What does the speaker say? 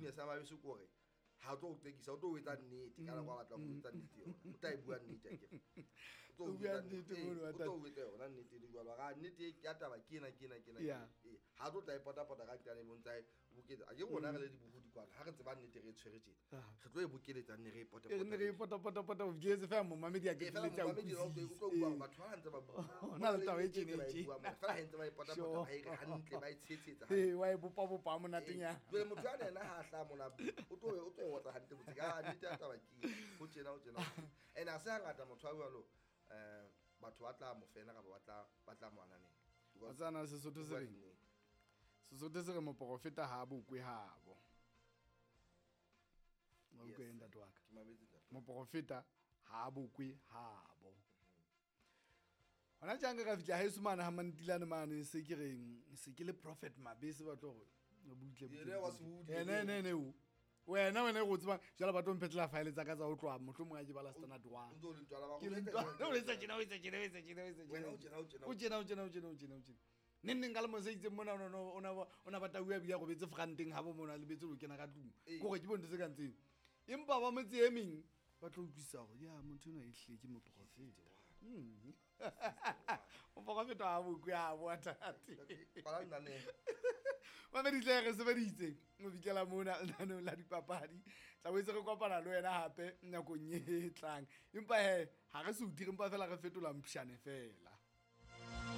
Weakness ya Mabese ke hore ha o tlo o qekisa, o tlo o etsa nnete ka nako a batlang ho etsa nnete yona. O tla e bua nnete akere. O tlo O o bua etsa nnete ee, mono, o wa tlo o etsa yona nnete le jwalo. Ra nnete e ya taba ke ena, ke ena, ke ena, ke Yeah. ena. Ee, ha tlo tla e pota-pota ka nqane bo ntsa e boketsa. A ke rona re le dibohodi kwana, ha re tseba nnete re e tshwere tjena. Ah. Re tlo e bokeletsa nne re e E re ne re e pota-pota. pota-pota-pota o fihletse fela momamedi a Ee, fela qetelletse a momamedi yena o tlo utlwa hore utlwisise. batho ba ntse ba bua. Ho na le taba e tjena e Ba e tjena. bua mona. Fela ha ntse ba e pota-pota, Sure. ba e re hantle, ba e tshehetsa hantle. Ee, wa e bopa-bopa ha monatenyana. Jwale motho ya yena ha a hlaha mona, o tlo e otla hantle botse. Ka nnete ya taba ke ena. Ho tjena, ho tjena, ho tjena. And ha se hangata motho a jwalo, batho ba tla mo fena kapa ba tla mo ananela. Wa tseba na Sesotho se Bua reng? nnete. Sesotho se re moporofeta ha a bokwe habo. Wa utlwa Yes. eng, ntate wa ka? Ke mametse, ntate. Moporofeta ha a bokwe habo. Hona tjang ka fihla haeso mane ha Mantilane mane, se ke reng se ke le Prophet Mabese, ba tlo hore o butle butle. Yena wa sehudi. Ene ene ene o. Wena wena e go tsebang jwale ba tlo mphetlela file tsa ka tsa ho tloha mohlomong ha ke bala standard O 1. ntso o le ntwala ba Ke le go ntwa- o etsa tjena, o etsa tjena, o etsa tjena, o etsa tjena. Wena o tjena, o tjena, O tjena, o tjena, o tjena, o tjena, o tjena. Neng neng ka lemo se itseng mona o na ba tau ya bile a robetse franteng ha bo mona a lebetse ho kena ka tlung. Ee. Ke hore ke bonto tse kang tseo. Empa ba motse e meng ba tlo utlwisisa hore ya motho enwa ehlile ke moprofeta. Moprofeta ha bokwe ha bo ntate. Kwala lenaneo. Mamedi tle re sebeditse ho fihlela mona lenaneong la dipapadi. Tla boetse re kopana le wena hape nakong e tlang. Empa he, ha re se o dire, empa fela re fetola mpshane fela.